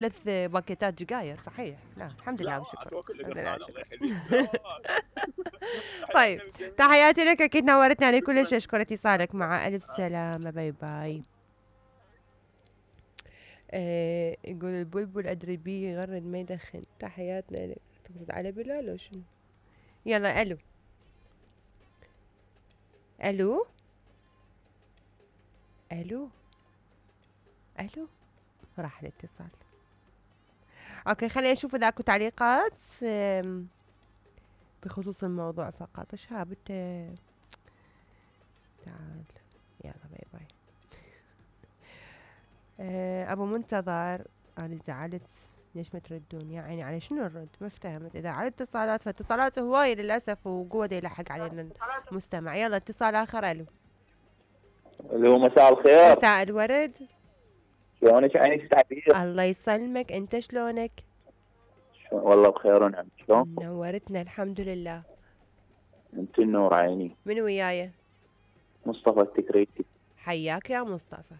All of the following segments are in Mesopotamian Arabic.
3 باكيتات جقاير صحيح. لا الحمد لله والشكر. الحمد لله والشكر. طيب تحياتي لك، اكيد نورتني على كلش. اشكر اتصالك، مع الف سلامه، باي باي. يقول البلبل ادري بيه يغرد ما يدخن. تحياتنا لك. تقصد على بلال وشنو؟ يلا الو الو الو الو، راح الاتصال. اوكي خليني اشوف اذا اكو تعليقات بخصوص الموضوع فقط. شهاب انت تعال، يلا باي باي. ابو منتظر، انا زعلت ليش ما تردون؟ يا عيني على شنو الرد؟ ما افتهمت. اذا على اتصالات فاتصالات هواية للاسف، وقوة يلحق علينا المستمع. يلا اتصال اخر. الو الو، مساء الخير. مساء الورد. شلونك عيني تعبير؟ الله يسلمك، انت شلونك؟ والله بخير ونعم. شلون؟ نورتنا الحمد لله. انت النور عيني. من وياي؟ مصطفى التكريتي. حياك يا مصطفى.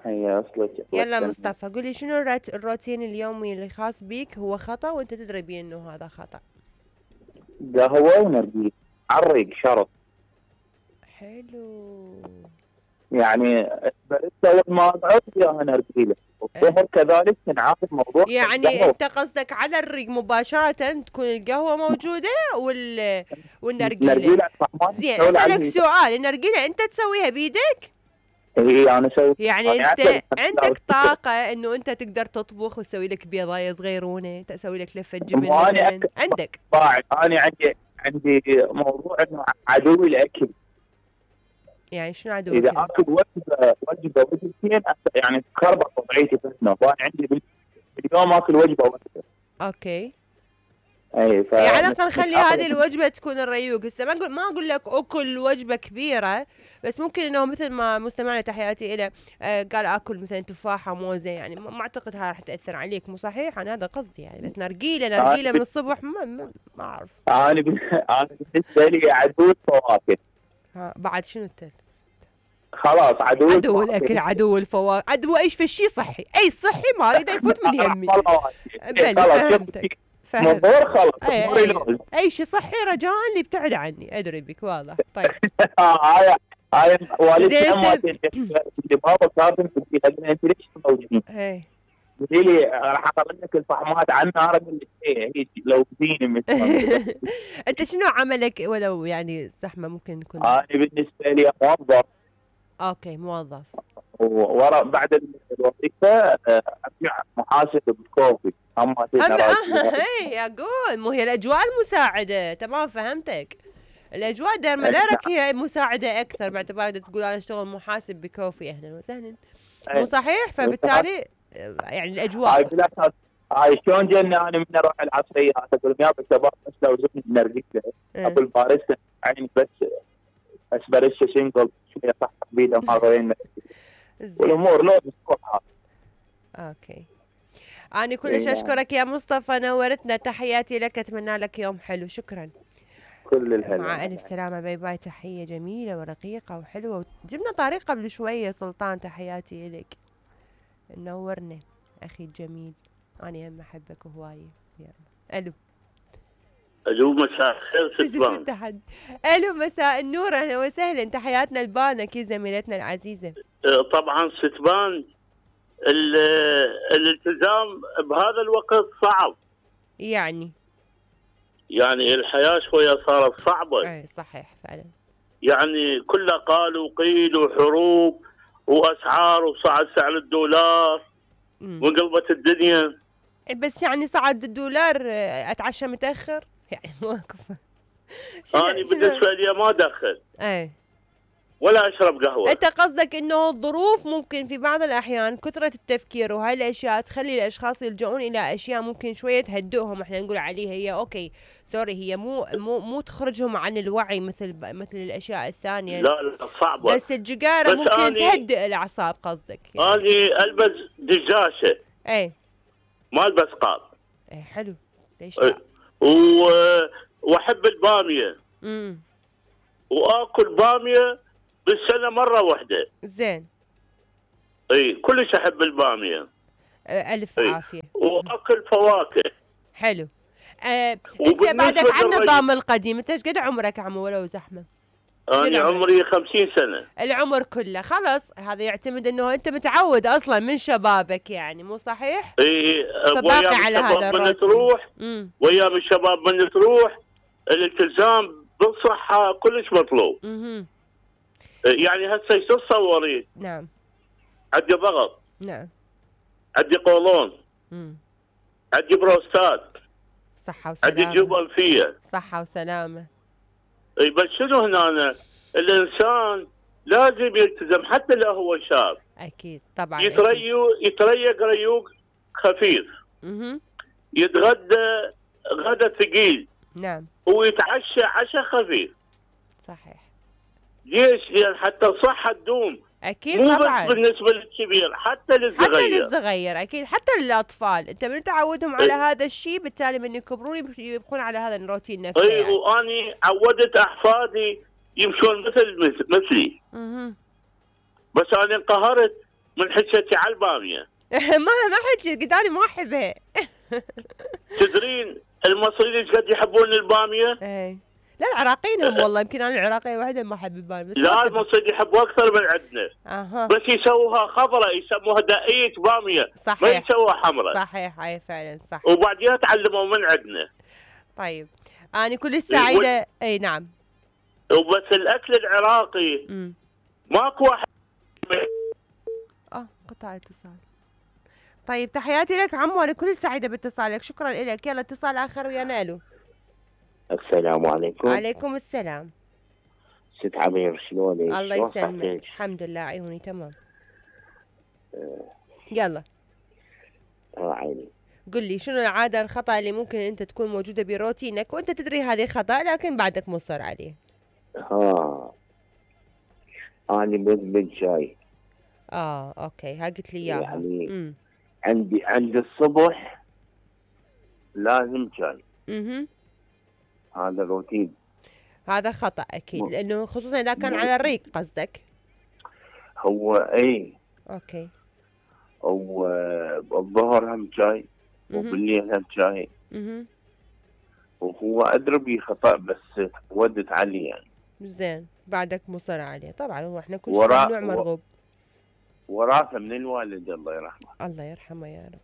هيا اصلك. يلا مصطفى قولي شنو الروتين اليومي اللي خاص بيك هو خطأ وانت تدري بيه انه هذا خطأ؟ قهوة ونرجيل عرق شرط. حلو. يعني بريتا ما اقعد وياها نرجيله، والظهر كذلك تنعاد موضوع. يعني انت قصدك على الريق مباشرة تكون القهوة موجودة والنرجيلة؟ زين اسألك سؤال، النرجيلة انت تسويها بيدك؟ اي انا اسوي. يعني انت عندك طاقة انه انت تقدر تطبخ وتسوي لك بيضاية صغيرونة، تسوي لك لفة جبن مثلا عندك؟ انا عندي موضوع انه عدوي الاكل. يعني شنو عدوك؟ اذا اكل وجبتين يعني تخربط وضعيتي فتنه، فانا عندي باليوم اكل وجبه واحده. اوكي. اي على الاقل خلي هذه الوجبه تكون الريوق. هسه ما اقول لك اكل وجبه كبيره، بس ممكن انه مثل ما مستمعنا تحياتي له قال اكل مثلا تفاحه موزه، يعني ما اعتقد هاي راح تاثر عليك. مو صحيح؟ انا هذا قصدي يعني. بس نرجيله من الصبح ما اعرف. انا بالنسبه لي عدو الفواكه. بعد شنو التل؟ خلاص عدو الاكل، عدو الفواكه، عدو اي شيء صحي، اي صحي ما اريد يفوت من يمي. فهمتك. خلاص اي شيء صحي رجاء اللي يبتعد عني، ادري بك واضح. طيب هاي والدتي اللي بابا كاتب في انت ليش موجودين؟ قولي لي راح اطلع لك الفحمات عن نار. اقول لك هي لو تزيني مثلا. انت شنو عملك ولو يعني زحمه ممكن يكون؟ انا بالنسبه لي موظف. اوكي موظف. ورا بعد الوظيفه ارجع محاسب بالكوفي. اي اقول مو هي الاجواء المساعده. تمام فهمتك. الاجواء دارك هي مساعده اكثر، باعتبار تقول انا اشتغل محاسب بكوفي. اهلا وسهلا. مو صحيح؟ فبالتالي يعني الاجواء هاي شلون جينا انا من اروح العصريه اقول يا شباب بس لو زبن نرجيله ابو الباريستا عيني بس اسبريسو سينجل شويه صح بيده ما غيرنا والامور لو بتروح. اوكي أنا كلش أشكرك يا مصطفى، نورتنا. تحياتي لك، أتمنى لك يوم حلو. شكرا. كل الهلا. مع ألف سلامة، باي باي. تحية جميلة ورقيقة وحلوة. جبنا طريقة قبل شوية. سلطان تحياتي لك، نورنا أخي الجميل. أنا هم أحبك هواية. يلا الو مساء الخير ستبان. الو مساء النور، اهلا وسهلا. تحياتنا لبانك يا زميلتنا العزيزة. طبعا ستبان الالتزام بهذا الوقت صعب. يعني الحياة شوية صارت صعبة. اي صحيح فعلا. يعني كله قال وقيل وحروب واسعار وصعد سعر الدولار وانقلبت الدنيا. بس يعني صعد الدولار اتعشى متاخر يعني ماكو. انا بالنسبه لي ما ادخل ولا اشرب قهوه. انت قصدك انه الظروف ممكن في بعض الاحيان كثره التفكير وهاي الاشياء تخلي الاشخاص يلجؤون الى اشياء ممكن شويه تهدئهم. احنا نقول عليها هي اوكي سوري، هي مو تخرجهم عن الوعي مثل الاشياء الثانيه. لا صعبه. بس الجقاره ممكن تهدئ الاعصاب قصدك يعني. انا البس دجاشه ما البس قاب. حلو. ليش واحب الباميه. واكل باميه بالسنه مره واحده. زين. كلش احب الباميه. الف عافيه. واكل فواكه. حلو. انت بعدك على النظام القديم. انت ايش قد عمرك يا عمو ولو زحمه؟ انا عمري 50 سنه. العمر كله خلاص. هذا يعتمد انه انت متعود اصلا من شبابك، يعني مو صحيح؟ اي فباقي على هذا من تروح وايام الشباب من تروح الالتزام بالصحه كلش مطلوب. يعني هسه ايش تتصورين؟ نعم. عندي ضغط. نعم. عندي قولون. عندي بروستات. صحة وسلامة. عندي جيوب انفية. صحة وسلامة. اي بس شنو هنا الانسان لازم يلتزم حتى لو هو شاب. اكيد طبعا. يتريق ريوق خفيف. يتغدى غدا ثقيل. نعم. ويتعشى عشاء خفيف. صحيح. ليش؟ يعني حتى الصحة تدوم. اكيد مو طبعا. بس بالنسبة للكبير، حتى للصغير. حتى للصغير اكيد، حتى للاطفال. انت من تعودهم على هذا الشيء بالتالي من يكبرون يبقون على هذا الروتين نفسه. اي يعني. واني عودت احفادي يمشون مثلي. بس انا انقهرت من حكيتي على الباميه. ما حكيت، قلت انا ما احبها. تدرين المصريين ايش قد يحبون الباميه؟ اي لا العراقيين هم والله، يمكن انا العراقيه واحده ما احب الباميه. لا المصريين يحبوا اكثر من عندنا. بس يسووها خضراء، يسموها دقيقه باميه. صحيح. ما يسووها حمراء. صحيح. اي فعلا صح. وبعدين تعلموا من عندنا. طيب انا كل سعيده. اي نعم. وبس الاكل العراقي ماكو واحد. قطع اتصال. طيب تحياتي لك عمو، انا كل سعيده باتصالك، شكرا لك. يلا اتصال اخر ويانا. الو. السلام عليكم. وعليكم السلام. ست عمير شلونك؟ الله يسلمك. الحمد لله عيوني تمام. يلا. عيني. قل لي شنو العاده الخطا اللي ممكن انت تكون موجوده بروتينك وانت تدري هذه خطا لكن بعدك مصر عليه؟ انا مدمن شاي. اوكي ها قلت لي اياها. يعني عندي الصبح لازم شاي. هذا روتين. هذا خطأ أكيد، لأنه خصوصا إذا كان على الريق قصدك. هو أوكي. والظهر هم شاي وبالليل هم شاي. وهو أدري بي خطأ بس ودت علي يعني. زين بعدك مصر عليه طبعا. هو احنا كل شيء ممنوع مرغوب. وراثة من الوالد الله يرحمه. الله يرحمه يا رب.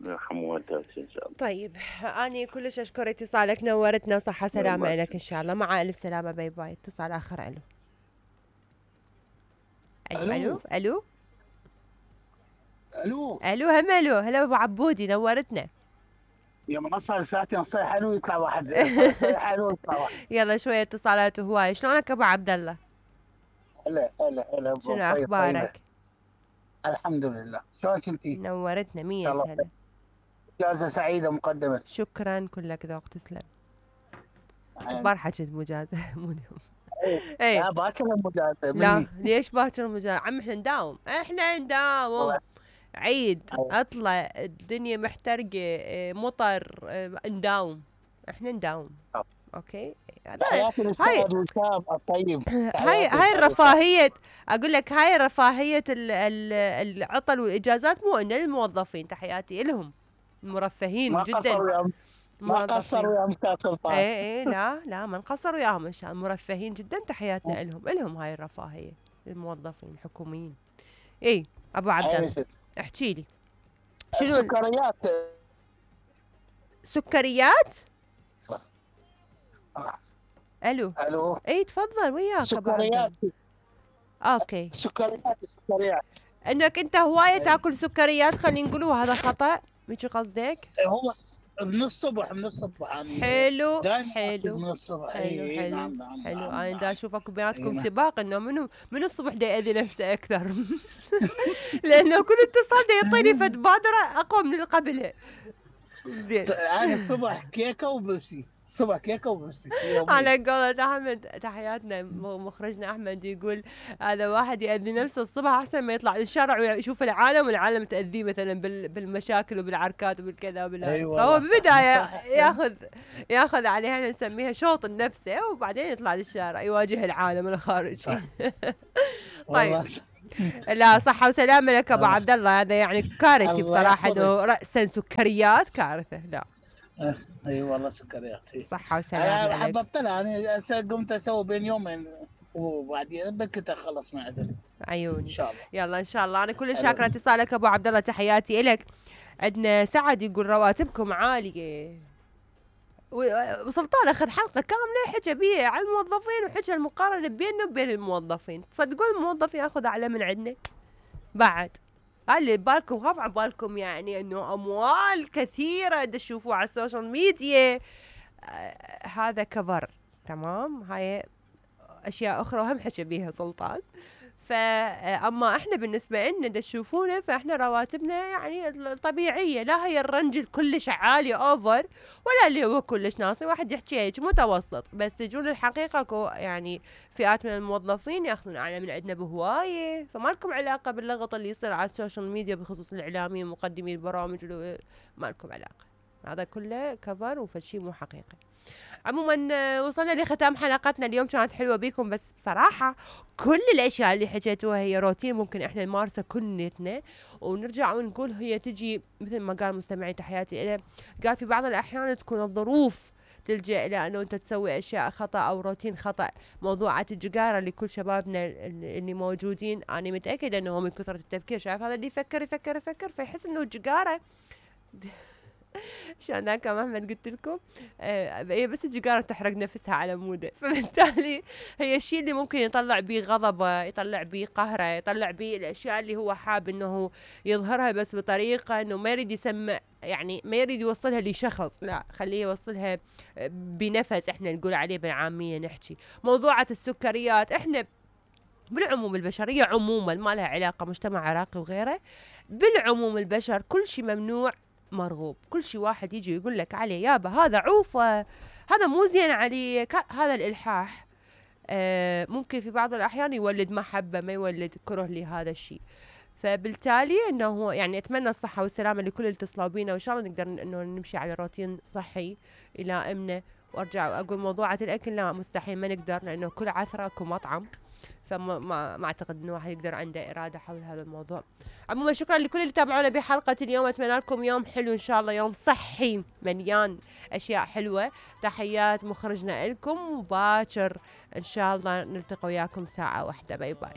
يرحمه وانتهت ان شاء الله. طيب اني كلش اشكر اتصالك، نورتنا وصحة سلامة لك ان شاء الله. مع الف سلامة. باي باي. اتصال اخر. الو. هم هلا ابو عبودي نورتنا. يا ما صار ساعتين صيح حلو يطلع واحد. صيح حلو يطلع واحد. يلا شوية اتصالات وهواي. شلونك ابو عبد الله؟ هلا شنو اخبارك؟ الحمد لله. شلونك انتي؟ نورتنا 100 هلا. إجازة سعيدة مقدما. شكرا كلك ذوق تسلم. اخبار حكيت مجازة مو اليوم. لا باكر المجازة. لا ليش باكر المجازة؟ عم احنا نداوم. عيد اطلع الدنيا محترقة مطر نداوم. احنا نداوم. اوكي. هاي الرفاهية. اقول لك هاي رفاهية العطل والاجازات مو ان للموظفين. تحياتي لهم المرفهين جدا. ما قصروا وياهم استاذ سلطان. اي لا ما نقصر وياهم ان شاء الله. مرفهين جدا. تحياتنا لهم هاي الرفاهية الموظفين الحكوميين. ابو عبد الله احكي لي شنو سكريات. الو. تفضل وياك. سكريات. اوكي. سكريات انك انت هوايه تاكل سكريات خلينا نقول، وهذا خطا مش قصدك؟ هو من الصبح يعني. حلو من الصبح. نعم. انا دا اشوفكم بيناتكم سباق انه منو الصبح دا يأذي نفسه اكثر. لانه كل اتصال دا يعطيني فد بادره اقوى من اللي قبلها. زين. انا الصبح كيكه وبيبسي. على قولة أحمد. تحياتنا مخرجنا أحمد يقول هذا واحد يأذي نفسه الصبح أحسن ما يطلع للشارع ويشوف العالم والعالم تأذيه مثلا بالمشاكل وبالعركات وبالكذا أيوة. فهو بالبداية ياخذ عليها نسميها شوط النفسه وبعدين يطلع للشارع يواجه العالم الخارجي. طيب لا صحة وسلامة لك ابو عبد الله، هذا يعني كارثي بصراحة انه رأسا سكريات كارثة. لا اي والله سكريات. صحة وسلامة انا لك. حببتنا، انا قمت اسوي بين يومين وبعدين بكيت اخلص مع عدل عيوني ان شاء الله. يلا ان شاء الله. انا كل شاكرة اتصالك ابو عبد الله، تحياتي لك. عندنا سعد يقول رواتبكم عالية، وسلطان اخذ حلقه كامله حكى بيه على الموظفين وحكى المقارنه بيننا وبين الموظفين. تصدقون الموظفين ياخذ اعلى من عندنا بعد؟ اللي بالكم خاف على بالكم يعني انه اموال كثيره تشوفوها على السوشيال ميديا، هذا كفر تمام. هاي اشياء اخرى وهم حكى بيها سلطان. فاما احنا بالنسبه لنا تشوفونا فاحنا رواتبنا يعني طبيعيه، لا هي الرنج كلش عالي اوفر ولا اللي هو كلش ناصي. واحد يحكي هيك متوسط، بس تجون الحقيقه يعني فئات من الموظفين ياخذون اعلى من عندنا بهوايه. فما لكم علاقه باللغط اللي يصير على السوشيال ميديا بخصوص الاعلاميين ومقدمي البرامج، ما لكم علاقه. هذا كله كفر وفشي مو حقيقي. عموما وصلنا لختام حلقتنا اليوم، كانت حلوه بيكم، بس بصراحه كل الاشياء اللي حكيتوها هي روتين ممكن احنا نمارسه كلنا، ونرجع ونقول هي تجي مثل ما قال مستمعي تحياتي له، قال في بعض الاحيان تكون الظروف تلجأ الى انه انت تسوي اشياء خطا او روتين خطا. موضوعات الجقاره لكل شبابنا اللي موجودين، انا متاكده انه من كثره التفكير شايف هذا اللي يفكر يفكر يفكر فيحس انه الجقاره عشان هناك محمد قلت لكم هي بس الجقارة تحرق نفسها على موده، فبالتالي هي الشيء اللي ممكن يطلع بيه غضبه، يطلع بيه قهره، يطلع بيه الاشياء اللي هو حاب انه يظهرها بس بطريقه انه ما يريد يسمع، يعني ما يريد يوصلها لشخص، لا خليه يوصلها بنفس احنا نقول عليه بالعاميه نحكي. موضوعات السكريات احنا بالعموم البشريه عموما ما لها علاقه مجتمع عراقي وغيره، بالعموم البشر كل شيء ممنوع مرغوب. كل شيء واحد يجي يقول لك عليه يابا هذا عوفه، هذا مو زين عليك، هذا الالحاح ممكن في بعض الاحيان يولد محبه ما يولد كره لهذا الشيء. فبالتالي انه يعني اتمنى الصحه والسلامه لكل اللي اتصلوا بينا، وان شاء الله نقدر انه نمشي على روتين صحي يلائمنا. وارجع واقول موضوعات الاكل لا مستحيل ما نقدر، لانه كل عثره اكو مطعم، فما ما اعتقد انه واحد يقدر عنده اراده حول هذا الموضوع. عموما شكرا لكل اللي تابعونا بحلقه اليوم، اتمنى لكم يوم حلو ان شاء الله، يوم صحي مليان اشياء حلوه. تحيات مخرجنا لكم، وباكر ان شاء الله نلتقي وياكم ساعه واحده. باي باي.